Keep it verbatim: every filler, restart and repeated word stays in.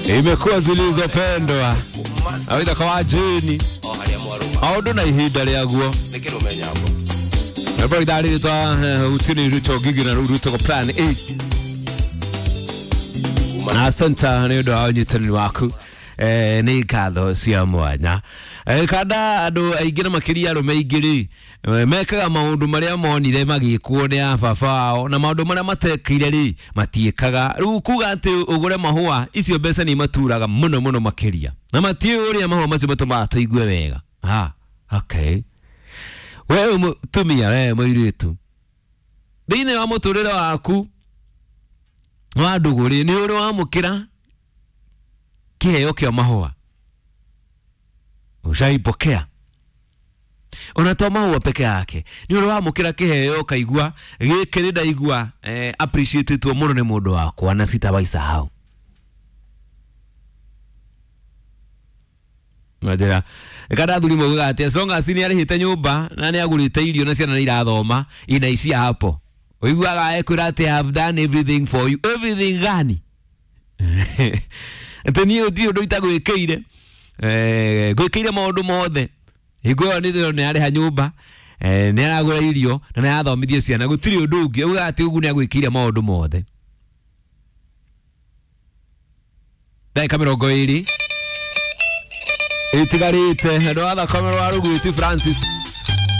Imekuwa zilizopendwa awita kwa jini maundu na ihinda rĩaguo rwĩmbo itharĩrĩtwa utini ruto ngigi na rũu rwĩtagwo plan A. Asante nĩ ũndũ wa ũnyitanĩri waku, eh, nĩ ngatho cia mwanya. Eh, kanda andũ aingĩ na makĩria arũme aingĩ rĩ, eh, mekaga maũndũ marĩa monire magĩkwo nĩ a baba wao, na maũndũ marĩa matekire rĩ matiĩkaga. Rĩu kuga atĩ ũgũre mahũa, icio mbeca nĩ imaturaga mũno mũno makĩria, na matiũĩ ũrĩa mahũa macio matũmaga tũigue wega. Ah, okay, we wĩ mũtumia, we mũirĩtu, thĩinĩ wa mũtũrĩre waku wa ndũgũ rĩ, nĩ ũrĩ wamũkĩra kĩheo kĩa mahũa? Ushaipokea? Ona to mahũa peke yake, nĩ ũrĩ wamũkĩra kĩheo ũkaigua gĩkĩ nĩ ndaigua eh, appreciated mũno nĩ mũndũ wakwa na sitawaisahau? Njĩra kana athuri maugaga atĩ as long as nĩ arĩhĩte nyũmba na nĩ agũrĩte irio na ciana nĩ irathoma, inaishia hapo. Ũiguaga ekwĩra atĩ, "I have done everything for you." Everything gani? Atĩ niĩ gũtirĩ ũndũ itagwĩkĩire, eh, ngwĩkĩire maũndũ mothe. Hingo ĩyo nĩ nĩ arĩha nyũmba, eh, nĩ aragũra irio na nĩ arathomithia ciana, gũtirĩ ũndũ ũngĩ. Ugaga atĩ ũguo nĩ agwĩkĩire maũndũ mothe. Ndagĩka mĩrongo ĩrĩ itigarĩte andũ a thakame rwa rũgwĩti Francis.